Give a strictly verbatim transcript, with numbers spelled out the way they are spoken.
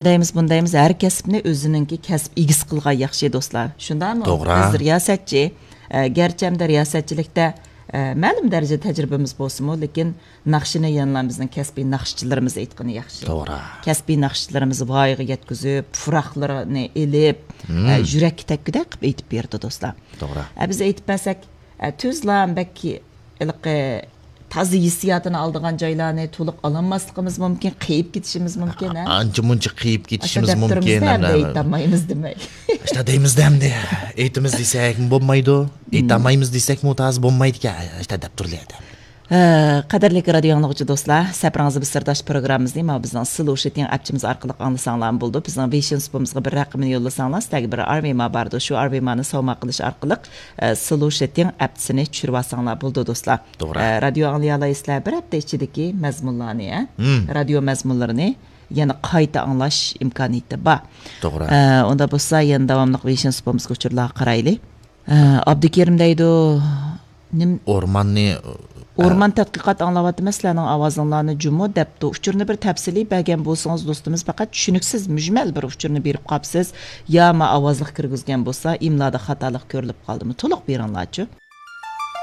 دەيمىز، بۇنى دەيمىز، ھەر كەسىپنى ئۆزىنىڭكى كەسىپ ئىگىسى قىلغان ياخشى، دوستلار. شۇنداقمۇ؟ توغرا. بىز رىياسەتچى، ئە، گەرچە ئەمدى رىياسەتچىلىكتە، ئە، مەلۇم دەرىجىدە تەجرىبىمىز بولسىمۇ، لېكىن ناخشىنى يەنىلا بىزنىڭ كەسپىي ناخشىچىلىرىمىز ئېيتقىنى ياخشى. توغرا. كەسپىي ناخشىچىلىرىمىز ۋايىغا يەتكۈزۈپ، پۇراقلىرىنى ئېلىپ، ئە، يۈرەككە تەگكۈدەك قىلىپ ئېيتىپ بېرىدۇ، دوستلار. توغرا. ئە، بىز ئېيتىپ بەرسەك، ئە، تۈزلا بەك ھېلىقى تازا ھېسسىياتىنى ئالىدىغان جايلارنى تولۇق ئالالماسلىقىمىز مۇمكىن، قېيىپ كېتىشىمىز مۇمكىن، ھە؟ ئانچە مۇنچە قېيىپ كېتىشىمىز مۇمكىن، دەپتۇرىمىزدە ئەمدى ئەمدى. ئېيتالمايمىز دېمەك. ئاشتا دەيمىزدە ئەمدى. ئېيتىمىز دېسەكمۇ بولمايدۇ، ئېيتالمايمىز دېسەكمۇ تازا بولمايدىكەن. ئاشتا دەپ تۇرلى ئادەم. ھە، قەدىرلىك رادىيو ئاڭلىغۇچى دوستلار، سەپىرىڭىزدە بىز سىرداش پروگراممىمىزنى ماۋۇ بىزنىڭ سلوشىتىڭ ئەپچىمىز ئارقىلىق ئاڭلىساڭلارمۇ بولىدۇ. بىزنىڭ ۋېيشىن سۇپىمىزغا بىر رەقىمىنى يوللىساڭلار، سىلەرگە بىر ئارۋېما باردۇ. شۇ ئارۋېمانى ساۋما قىلىش ئارقىلىق، ئە، سلوشىتىڭ ئەپچىسىنى چۈشۈرۈۋالساڭلار بولىدۇ، دوستلار. توغرا. ئە، رادىيو ئاڭلىيالايسىلەر، بىر ھەپتە ئىچىدىكى مەزمۇنلارنى، ھە؟ مم. رادىيو مەزمۇنلىرىنى يەنە قايتا ئاڭلاش ئىمكانىيىتى بار. توغرا. ئە، ئۇندا بولسا يەنە داۋاملىق ۋېيشىن سۇپىمىزغا ئۇچۇرلارغا قارايلى. ئە، ئابدۇكېرىم دەيدۇ، نېمە؟ ئورماننى، ئە، ئورمان تەتقىقات ئاڭلاۋاتىمەن، سىلەرنىڭ ئاۋازىڭلارنى جۇمۇ دەپتۇ. ئۇچۇرنى بىر تەپسىلىي بەرگەن بولسىڭىز، دوستىمىز، پەقەت چۈشىنىكسىز، مۈجمەل بىر ئۇچۇرنى بېرىپ قاپسىز. يا ما ئاۋازلىق كىرگۈزگەن بولسا، ئىملادا خاتالىق كۆرۈلۈپ قالدىمۇ؟ تولۇق بېرىڭلارچۇ.